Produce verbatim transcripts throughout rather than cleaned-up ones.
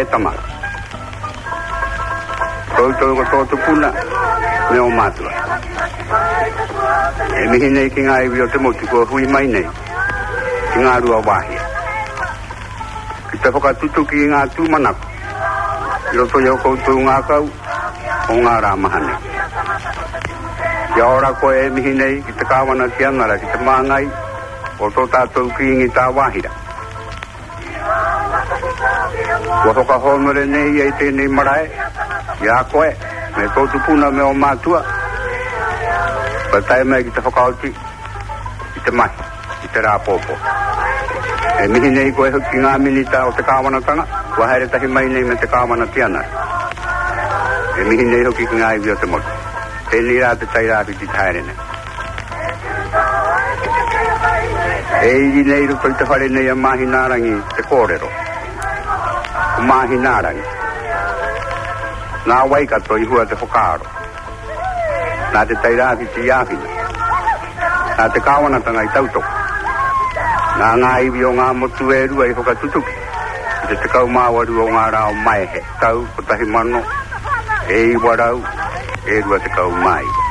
e tama. Koutou ko tō tupuna me o mātua. E mihi nei ki ngā iwi o te motu kua hui mai nei ki Ngāruawāhia. Ki te whakatutuki i ngā tūmanako i roto i o koutou ngākau o ngā rā maha nei. Kia ora koe e mihi nei ki te kāwana tianara ki te māngai o tō tātou Kīngi Tāwāhira. Kua whakahōnore nei ia i tēnei marae, i a koe, me tō tupuna me o mātua, kua tae mai ki te whakaoti i te mahi, i te rā pōpō. E mihi nei koe hoki ki ngā minita o te kāwanatanga, kua haere tahi mai nei me te kāwana tianara. E mihi nei hoki ki ngā iwi o te motu. Tēnei rā te Tairāwhiti te haere nei. E iri nei roto i te whare nei a Māhinaarangi te kōrero. Ko Māhinaarangi. Nā Waikato i hua te whakaaro. Nā Te Tairāwhiti i āwhina. Nā te kāwanatanga i tautoko. Nā ngā iwi o ngā motu e rua i whakatutuki i te tekau mā waru o ngā rā o Maehe, tau kotahi mano e iwa rau e rua tekau mā iwa.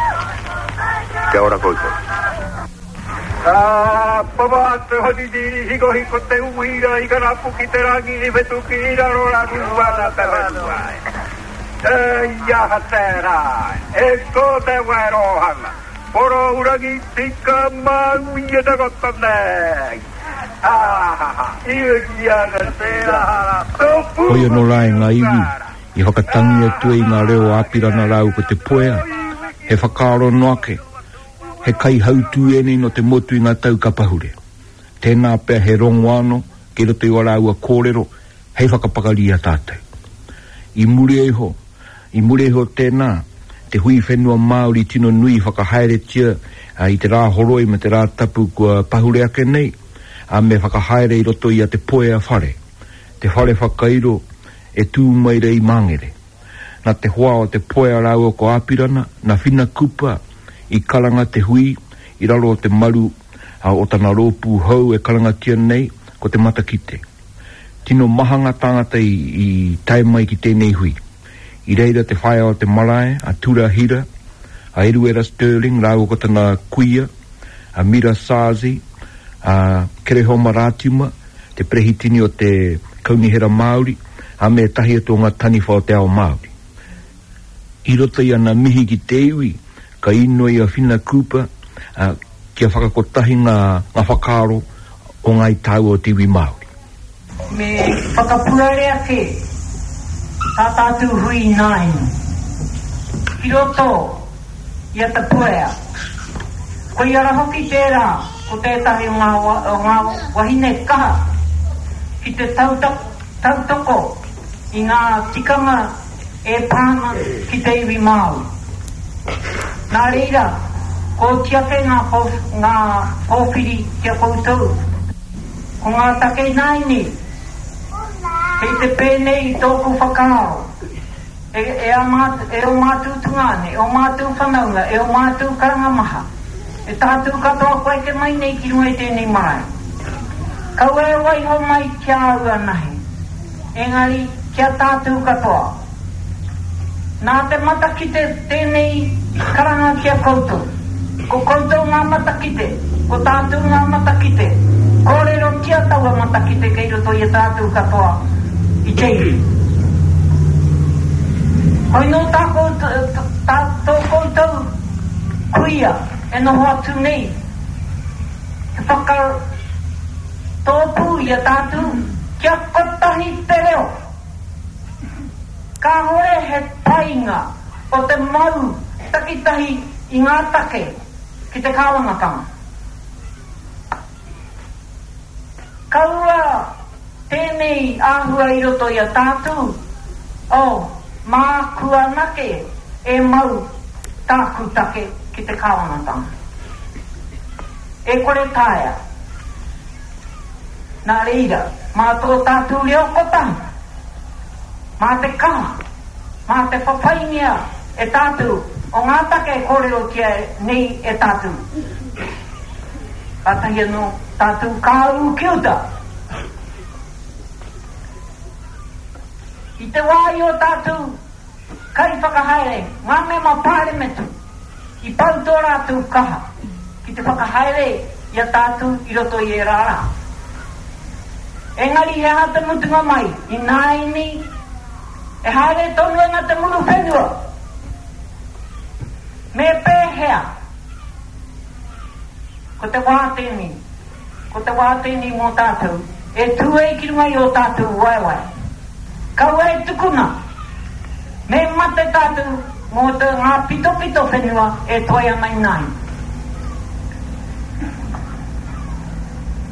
Kia ora koutou. Ka papa te horiri hikohiko te uira i karapu ki te rangi i whetuki i raro raru ana te whenua. E ia te rā, e ko te werohanga, poro urangi tika maui e te kota nei. Hoi anō rā e ngā iwi i whakatangi atu ai i ngā reo o Apirana rāua ko Te Puea, he whakaaro noa ake, he kaihautū ēnei nō te motu i ngā tau ka pahure. Tēnā pea he rongo anō kei roto i wā rāua kōrero hei whakapakari i a tātou. I muri iho, i muri iho tēnā, te hui whenua Māori tino nui i whakahaeretia i te rā horoi me te rā tapu kua pahure ake nei, a me whakahaere i roto i a Te Puea whare, te whare whakairo e tū mai rei Māngere. Nā te hoa o Te Puea rāua ko Apirana, nā Whina Kupa i karanga te hui i raro o te maru o tana rōpū hou e karangatia nei ko te matakite. Tino maha ngā tāngata i, i tae mai ki tēnei hui. I reira te whaea o te marae, a Tura Hira, a Eruera Stirling rāua ko tana kuia, a Mira Sazi, a Kerehoma Rātima, te perehitini o te Kaunihera Māori, a me ētahi atu o ngā taniwha o te ao Māori. I roto i ana mihi ki te iwi, ka inoi a Whina Cooper a, kia whakakotahi ngā, ngā whakaaro o ngāi tāua o te iwi Māori. Me whakapuare ake tā tātou hui ināiane ki roto i a Te Puea. Koia rā hoki tērā ko tētahi o ngā, o ngā wahine kaha ki te tautoko i ngā tikanga e pā ana ki te iwi Māori. Nā reira, ko oti ake ngā, ngā pōwhiri ki a koutou. Ko ngā take ināianei, kei te pēnei i tōku whakaaro, e, e, a māt, e o mātou tungāne, e o mātou whanaunga, e o mātou karanga maha, e tātou katoa kua eke mai nei ki runga i tēnei marae. Kaua e waiho mai ki a au anahe, engari ki a tātou katoa. Nā te matakite tēnei karanga ki a koutou. Ko koutou ngā matakite, ko tātou ngā matakite. Kōrerotia taua matakite kei roto i a tātou katoa i te iwi. Hoi nō tā koutou, tā tō koutou kuia e noho atu nei, he whakatōpū i a tātou kia kotahi te reo. Kāhore he painga o te mau takitahi i ngā take ki te kāwanatanga. Kaua tēnei āhua i roto i a tātou, oh, māku anake e mau tāku take ki te kāwanatanga. E kore taea. Nā reira, mā tō tātou reo kotahi, mā te kaha, mā te whawhaingia e tātou o ngā take e kōrerotia nei e tātou. Kātahi anō tātou ka ū ki uta. I te wā i o tātou kaiwhakahaere, ngā mema pāremata, i pau tō rātou kaha ki te whakahaere i a tātou i roto i ērā rā. Engari he aha te mutunga mai, ināianei, e haere tonu ana te muru whenua. Me pēhea? Ko te wā tēnei, ko te wā tēnei mō tātou, e tū ai ki runga i ō tātou waewae. Kaua e tukuna, me mate tātou mō te ngā pitopito whenua e toe ana ināianei.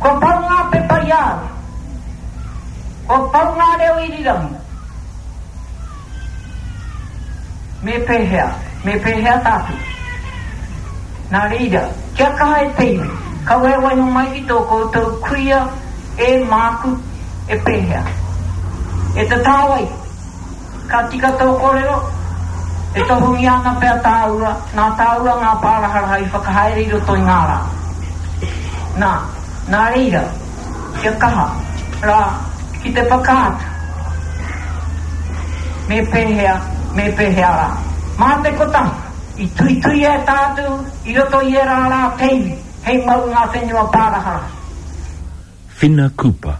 Kua pau ngā pepa i a au, kua pau ngā reo irirangi. Me pēhea, me pēhea tātou? Nā reira, kia kaha e te iwi, kaua e waiho mai ki tō koutou kuia e māku e pēhea. E te tāwai, ka tika tō kōrero, e tohungia ana pea tāua, nā tāua ngā pāraharaha i whakahaere i roto i ngā rā. Nā, nā reira, kia kaha rā ki te whakaatu. Me pēhea, me pēhea rā. Mā te kotahi, i tuituia e tātou i roto i ērā rā te iwi, hei mau ngā whenua pāraharaha. Whina Cooper,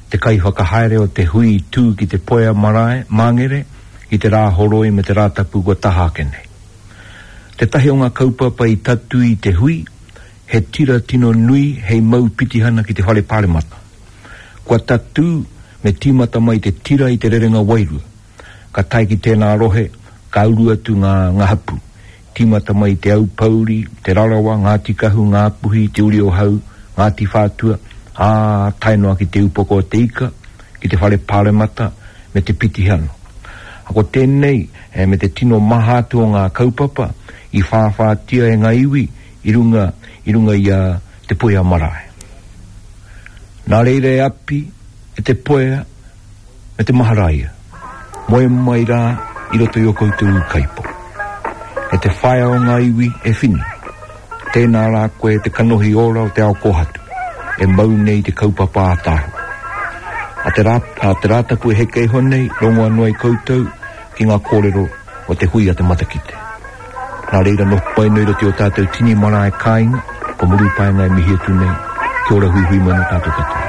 te kaiwhakahaere o te hui i tū ki Te Puea Marae, Māngere, i te rā horoi me te rā tapu kua taha ake nei. Tētahi o ngā kaupapa i tatū i te hui, he tira tino nui hei mau pitihana ki te whare pāremata. Kua tatū me tīmata mai te tira i te rerenga wairua. Ka tae ki tēnā rohe, ka uru atu ngā, ngā hapū. Tīmata mai Te Aupōuri, Te Rarawa, Ngāti Kahu, Ngāpuhi, Te Uri o Hau, Ngāti Whātua, ā, tae noa ki Te Upoko o Te Ika, ki te whare pāremata me te pitihana. Ko tēnei, e, me te tino maha atu o ngā kaupapa i whāwhātia e ngā iwi i runga, i runga i a Te Puea Marae. Nā reira e Api, e Te Puea, me te Maharaia, moe mai rā i roto i o koutou ūkaipō. E te whaea o ngā iwi e Whina, tēnā rā koe te kanohi ora o te ao kōhatu, e mau nei te kaupapa ātaahua. A te rā, a te Rātapu e heke iho nei, rongo anō ai koutou ki ngā kōrero o te hui a te matakite. Nā reira noho pai nei roto i o tātou tini marae kāinga, ko Murupaenga e mihi atu nei, kia ora huihui mai nō tātou katoa.